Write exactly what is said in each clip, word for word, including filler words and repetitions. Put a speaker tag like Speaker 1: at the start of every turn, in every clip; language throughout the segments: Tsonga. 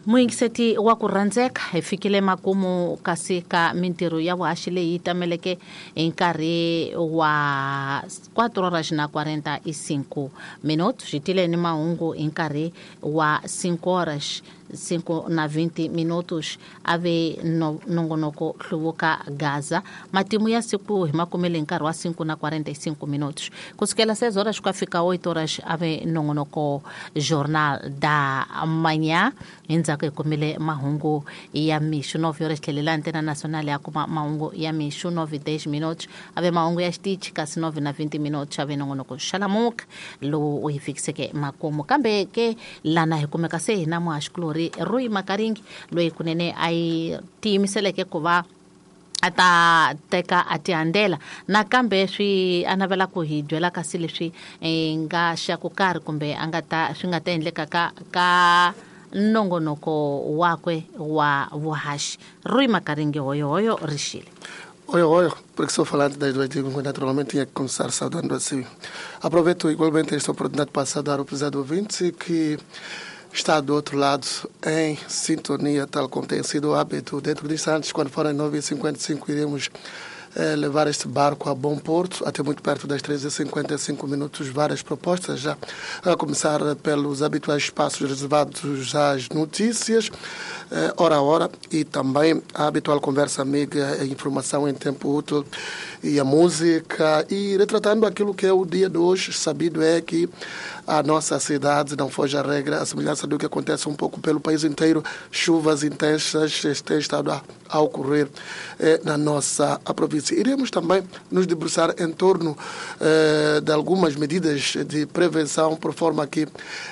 Speaker 1: Muyingiseti wa ku rhandzeka, hi fikile makumu kasi ka mintirho ya vuhaxi leyi tameleke hi nkarhi wa quatro horas na quarenta e cinco minutos. Hi tile ni mahungu hi nkarhi wa cinco horas cinco na vinte minutos. Ave no, nongonoko hluvuka Gaza. Matimu ya siku hi makumele hi nkarhi wa cinco na quarenta e cinco minutos. Kusukela seis horas ku fika oito horas ave nongonoko Jornal da Manhã. Endzhaku hi kumile mahungu ya mixo nove horas tlhelela Antena Nacional ya kuma mahungu ya mixo nove e dez minutos. Ave mahungu ya xitichi kasi nove na vinte minutos ave nongonoko Xalamuka lowu u hi fikiseke makumu. Kambe ke lana hi kumeka se hina muhaxikulori Rui Makaringi loyi kunene a yi tiyimiseleke ku va a ta teka a tihandzela nakambe swi a navela ku hi byela kasi leswi nga xa ku karhi kumbe a nga ta swi nga ta endleka ka ka nongonoko wakwe wa vuhaxi. Rui Makaringi, hoyo hoyo rixile.
Speaker 2: Oi, oi, porque sou falante das duas línguas, naturalmente tinha que começar saudando assim. Aproveito igualmente esta oportunidade para saudar o prezado ouvinte que está do outro lado em sintonia, tal como tem sido o hábito. Dentro de instantes, quando forem nove e cinquenta e cinco, iremos eh, levar este barco a bom porto, até muito perto das treze e cinquenta e cinco minutos, várias propostas já, a começar pelos habituais espaços reservados às notícias, eh, hora a hora, e também a habitual conversa amiga, a informação em tempo útil e a música, e retratando aquilo que é o dia de hoje. Sabido é que a nossa cidade não foge à regra, a semelhança do que acontece um pouco pelo país inteiro, chuvas intensas têm estado a, a ocorrer eh, na nossa província. Iremos também nos debruçar em torno eh, de algumas medidas de prevenção, por forma que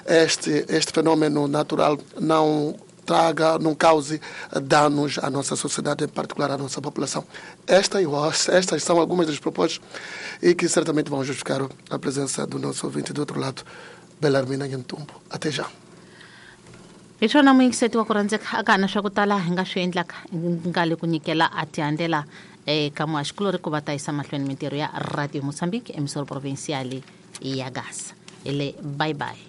Speaker 2: este, este fenômeno natural não traga, não cause danos à nossa sociedade, em particular à nossa população. Esta, estas são algumas das propostas e que certamente vão justificar a presença do nosso ouvinte do outro lado, Belarmina Nhantumbo. Até já.
Speaker 1: Hi swona muyingiseti wa ku rhandzeka, a ka ha na swa ku tala hi nga swi endlaka nga le ku nyikela a tihandzela eka muhaxikulori ku va ta yisa mahlweni mintirho ya Radio Mozambique emisoro provincial ya Gaza. Hi le bye bye.